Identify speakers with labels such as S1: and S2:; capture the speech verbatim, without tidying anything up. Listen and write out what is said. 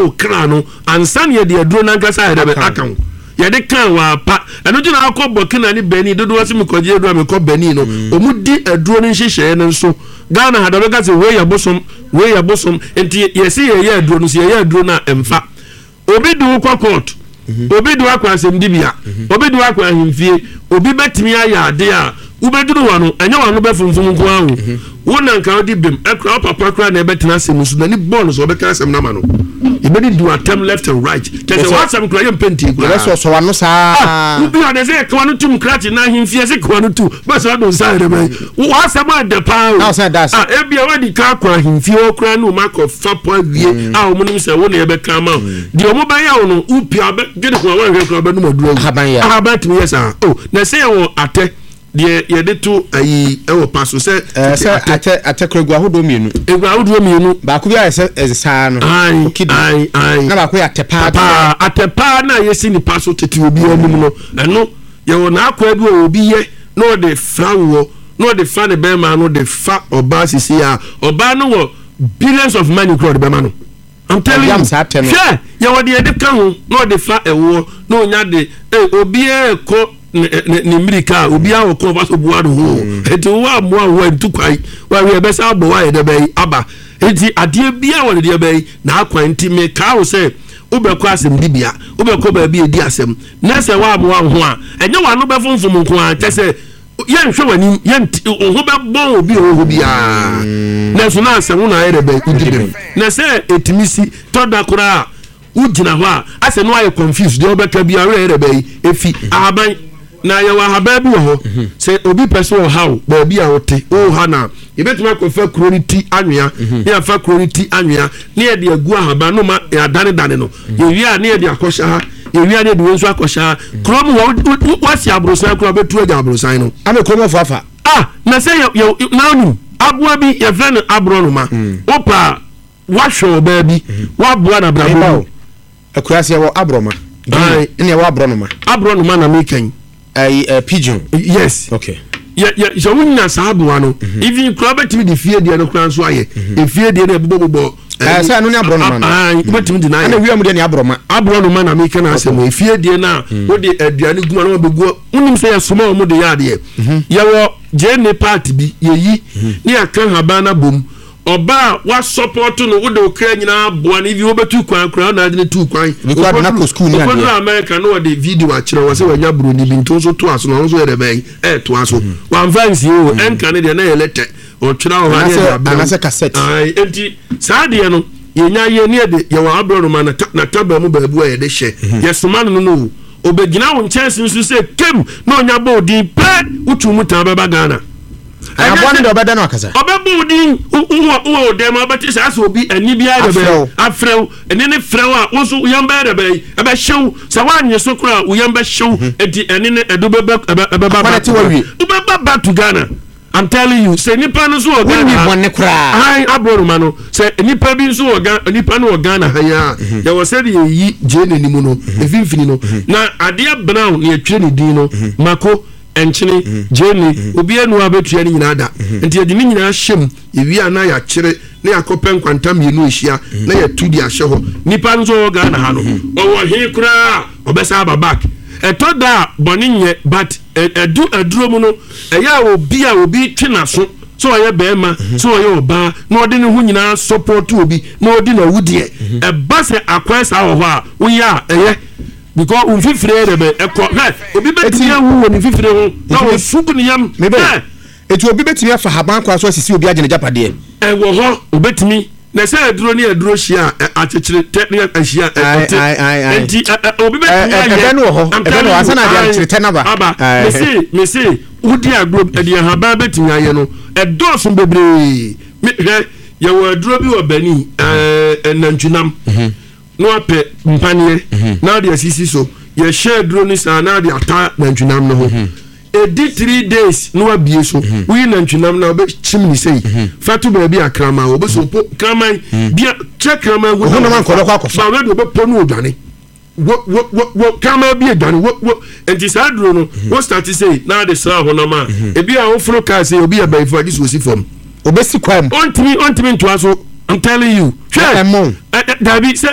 S1: wo kra no ansa ne yɛde aduro no ankasa yɛde bɛ aka ho. Yɛde kan wɔ apa ɛno gyina akɔ Burkina ne Benin dodoɔ sɛ mekɔgye aduro a mekɔ Benin no, ɔmu di aduro no nhyehyɛeɛ no nso. Ghana ha da bɛka sɛ wei yɛ bosom, wei yɛ bosom, nti yɛsi yɛyɛ aduro no so, yɛyɛ aduro no a ɛmfa. Obi de wo kɔ court, obi de wo akɔ asɛmdibea, obi de wo akɔ ahemfie, obi bɛtumi ayɛ ade a wobɛduru hɔ no, ɛnyɛ wano bɛfomfom nko ara o. Wo na nka wode bem ɛkora wo papa kora na ɛbɛtena asɛm so n'ani bɔɔ no so, ɔbɛka asɛm no ama no, yɛbɛdi di atɛm left and right, kyɛ sɛ w'asɛm kora yɛmpɛ ntie koraa.
S2: Yɛbɛsɔsɔ w'ano saa.
S1: Wobi ɔde sɛ kawa no tum krakye na ahemfie sɛ kawa no tum bɛsɛ ɔdo nsa yɛrɛ bɛyi w'asɛm adɛ paa o.
S2: Na ɔsan da ase.
S1: Ah, ebia wadi ka akɔ ahemfie hɔ koraa ne ɔmo akɔ fa pɔ awie a ɔmo nim sɛ wo na yɛbɛka ama wo deɛ ɔmo bɛyɛ wo no, wopia bɛdwene ho a woanhwɛ koraa bɛnom aduro awu.
S2: Ahaban yɛ.
S1: Ahaban tumi yɛ saa o, na sɛ yɛwɔ atɛ deɛ yɛde to ayi ɛwɔ pa so sɛ
S2: ɛɛ sɛ atɛ atɛ kora gu ahodoɔ mmienu.
S1: Egu ahodoɔ mmienu.
S2: Baako bi ayɛ sɛ ɛsaa no.
S1: Ayi.
S2: Okidi.
S1: Ayi ayi.
S2: Na baako yɛ atɛ paa.
S1: Paa, atɛ paa na yɛsi nipa so tete obi anim no, ɛno yɛwɔ n'akɔa bi wɔ obi yɛ na ɔde fra woɔ na ɔde fa ne bɛrima no de fa ɔbaa sisi a ɔbaa no wɔ billions of money kura ɔde bɛma no. I'm telling you.
S2: Ɔyam saa atɛ no.
S1: Hwɛ, yɛwɔ deɛ yɛde ka ho na ɔde fa ɛwoɔ na onya de ee obiara kɔ ne ne ne mmirika a obiara wɔ kɔn fa so boa ne ho, eti wo amoa wo ntu kwan wɔawie ɛbɛsa abɔ wo ayɛ dɛ bɛyi aba. Eti adeɛ biara wɔ ne deɛ bɛyi n'akwan, nti mekaa wo sɛ wobɛkɔ asɛm dibea, wobɛkɔ baabi edi asɛm na sɛ woamoa wo ho a, ɛnyɛ w'ano bɛfomfom nko ara, kyɛ sɛ yɛnhwɛ w'anim, yɛnti wo ho bɛbɔn obi a ɔwɔ hɔ biara, nanso na asɛm wo na ayɛ dɛ bɛyi wodi bɛm na sɛ etumi si tɔda koraa a wogyina hɔ a asɛ no ayɛ confused deɛ ɔbɛka biara werɛ yɛ dɛ bɛyi efi ahaban. Na yɛwɔ ahaban bi wɔ hɔ sɛ obi pɛ sɛ ɔhaw baabi a wote woha na yɛbɛtumi akɔfa kuro no ti anwea ne yɛafa kuro no ti anwea ne yɛde agu ahaban no ma yɛadanedane no. Yɛwie a ne yɛde akɔhyɛ ha, yɛwie a ne yɛde wei nso akɔhyɛ ha. Kurom hɔ woasi aborosan koraa, wobɛtu agya aborosan no.
S2: Ama kurom afo afa.
S1: Ah, na sɛ yɛ yɛ na onim aboa bi yɛfrɛ no aborɔnoma, wopa a woahwɛ ɔbaa bi woaboa no abrabɔ mu.
S2: Akuraase yɛwɔ aborɔma.
S1: Aye.
S2: Ɛna yɛwɔ aborɔnoma.
S1: Aborɔnoma na meka yi.
S2: Ɛyi ɛ pigeon.
S1: Yes.
S2: Okay.
S1: Yɛ yɛ sɛ wonya saa aboa no, even koraa bɛtumi de fie deɛ no koraa nso ayɛ efie deɛ no ɛbobɔbobɔ.
S2: Ɛɛ sɛ ɛno ne aborɔnoma no.
S1: Ayi, wobɛtumi de n'ayɛ.
S2: Ɛna wia mu deɛ ne aborɔma.
S1: Aborɔnoma na meka na asɛm, efie deɛ no a wode aduane gu ma na wabɛgu, wonim sɛ yɛsoma wɔn de yɛ adeɛ. Yɛwɔ gyeene part bi yɛyi ne yɛaka haban no abom. Ɔbaa wa support no, wode wo kra nyinaa boa no, even wobɛtu kwan koraa na ade no tu kwan.
S2: Obi koraa de no akɔ school ne adeɛ.
S1: Ɔkɔduru America na ɔde video akyerɛ wɔ sɛ wanya buroni bi, nti wo nso toa so na ɔno nso yɛ dɛ bɛn ɛɛtoa so. Wamfa nsie o, ɛnka ne deɛ na yɛ lɛtɛ ɔtwerɛ wɔ hɔ ne yɛde abrɛ wo.
S2: Anaasɛ cassette.
S1: Ae, enti saa deɛ no yɛnya yɛ ne yɛde yɛwɔ aborɔnoma na taba mu baabi a yɛde hyɛ yɛsoma no no no o, ɔbɛgyina wo nkyɛnse so sɛ kem na ɔnya bɔ odin pɛ, wotu mu taa bɛba Ghana.
S2: Aboa no deɛ ɔbɛda no akasa.
S1: Ɔbɛbɔ wo din, wowɔ wowɔ wo dɛm a wobɛte saa sɛ obi ani biara dɛ bɛyɛ afrɛ wo, ɛne ne frɛ wo a wo nso wo yam bɛyɛ dɛ bɛyɛ ɛbɛhyew, sɛ woannye so koraa a wo yam bɛhyew, enti ɛne ne ɛdo bɛbɛ ɛbɛba back to Ghana, wobɛba back to Ghana. I'm telling you, sɛ nipa no nso wɔ Ghana ha,
S2: wonni bɔne koraa.
S1: Ahan aborɔnoma no, sɛ nipa bi nso wɔ Ghana, nipa no wɔ Ghana ha yi a, yɛwɔ sɛdeɛ yɛyi gyee n'anim no, mfimfini no, na adeɛ brown na yɛtwerɛ ne din no, mako, nkyene, gyeene, obiara nni hɔ a bɛtua ne nyinaa da. Nti yɛde ne nyinaa hyɛ mu, yɛwie a na yɛakyere na yɛakɔpɛ nkwanta mmienu ahyia na yɛatu de ahyɛ hɔ. Nipa no nso ɔwɔ Ghana ha no, ɔwɔ he koraa a ɔbɛsan aba back. Ɛtɔ da a bɔne nyɛ, but ɛdu aduro mu no, ɛyɛ a obi a obi twe n'aso sɛ ɔyɛ bɛrima sɛ ɔyɛ ɔbaa na ɔde ne ho nyinaa support obi na ɔdi n'awudeɛ, ɛba sɛ akwan saa wɔ hɔ a woyɛ a ɛyɛ. Because wo mfifire yɛ dɛ bɛ ɛkɔ hwɛ obi bɛtumi awu wɔ ne mfifire ho na ɔsu gu ne yam hwɛ.
S2: Eti obi bɛtumi afa haban kwan so asisi obi agye n'agyapadeɛ?
S1: Ɛwɔ hɔ, obɛtumi. Na sɛ aduro ne aduro hyia a, akyekyere tɛ ne ahyia a, ɛte. Enti obi bɛtumi ayɛ.
S2: Ɛbɛ no wɔ hɔ, ɛbɛ no wɔ hɔ, ansa na adeɛ akyekyere tɛ no aba.
S1: Aba. Mese, mese, wodi agorɔ, ɛde ahaban bɛtumi ayɛ no, ɛdɔɔso bebree. Me, hwɛ, yɛwɔ aduro bi wɔ Benin, ɛɛ, nantwinam. Na wapɛ mpaneɛ na ade asisi so, yɛhyɛ aduro no saa na ade ata nantwinam no ho, ɛdi three days na wabie so, woyi nantwinam na wobɛkyim ne sei fa to baabi a kraman wɔ, wobɛsɛ ɔpo kraman bia kyɛ kraman hu
S2: na akɔfa
S1: ba wɛde wobɛpɔ no odwane wo wo wo wo kraman bi adwane wo wo. Nti saa aduro no wo start sei na ade sra honam a ebi a woforo kaa sei, obi yɛ bɛyifo agye so osi fam.
S2: Obesi kwan mu.
S1: Ɔntumi ɔntumi ntoa so. I'm telling you. Hwɛ.
S2: Ɛmɔ.
S1: Dabi sɛ